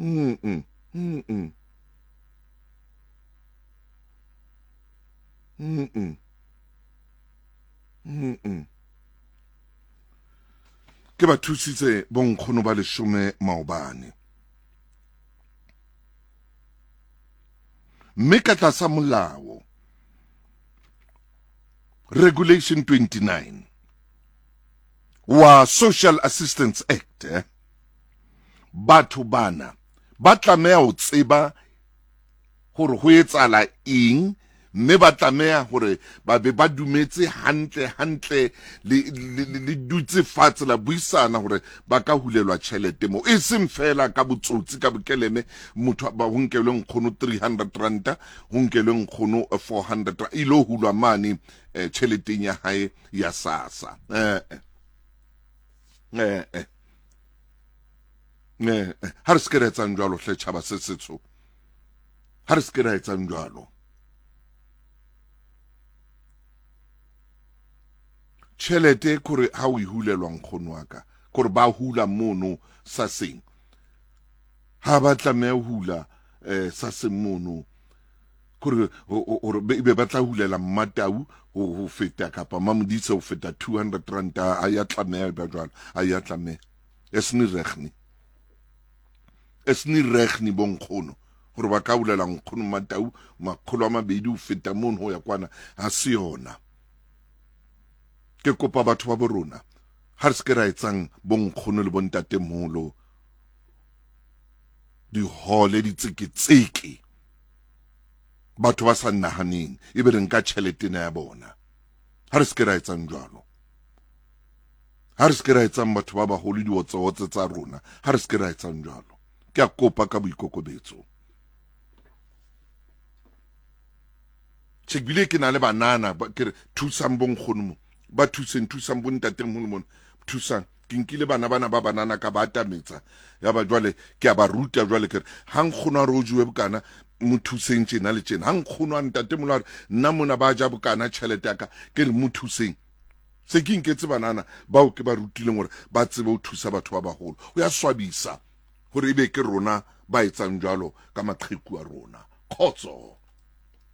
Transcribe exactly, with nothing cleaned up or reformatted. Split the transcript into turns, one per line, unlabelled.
Mm mm mm mm mm mm mm. Ke ba thusitse bonkgono ba leshome maobane. Mme ka tlasa molao Regulation twenty-nine wa Social Assistance Act, eh, batho bana ba tlameha ho tseba hore ho etsahala eng, mme ba tlameha hore ba be ba dumetse hantle hantle le, le, le, le dutse fatshe la buisana hore ba ka hulelwa tjhelete mo, e seng fela ka botsotsi ka bokeleme motho ba ho nkelwe nkgono three hundred ranta, ho nkelwe nkgono four hundred ranta, e lo hulwa mane eh, tjheleteng ya hae ya SASSA. Eh eh eh eh ha re se ke ra etsang jwalo hle tjhaba se setsho, ha re se ke ra etsang jwalo. Tjhelete kore ha o e hulelwa nkgono wa ka, kore ba hula mono SASSeng, ha ba tlameha ho hula eh SASSeng mono, kore hore be ba tla hulela Mmatau ho ho feta kapa Mamodise ho feta two hundred ranta, a ya tlameha ba jwalo, a ya tlameha. Esni regni, esni regni bonkgono hore ba ka hulela nkgono Mmatau makgolo a mabedi ho feta mono ho ya kwana, ha se yona. Ke kopa batho ba borona ha re se ke ra etsang bonkgono le bontatemoholo dihole ditseketseke, batho ba sa nahaneng ebe re nka tjhelete ena ya bona. Ha re se ke ra etsang jwalo, ha re se ke ra etsang batho ba baholo diotseotse tsa rona, ha re se ke ra etsang jwalo. Ke a kopa ka boikokobetso. Che bile ke na le banana ba ke re thusang bonkgono mo, ba thuseng, thusang bontatemoholo mona, thusang. Ke nkile bana bana ba banana ka ba atametsa, ya ba jwale ke a ba ruta jwale ke re ha nkgono a re o jewe bokana, mo thuseng tjena le tjena. Ha nkgono a ntatemoholo a re nna mona ba ja bokana tjhelete ya ka, ke re mo thuseng. Se ke nketse banana bao ke ba rutileng hore ba tsebe ho thusa batho ba baholo. Ho ya swabisa hore ebe ke rona ba etsang jwalo ka maqheku a rona. Khotso.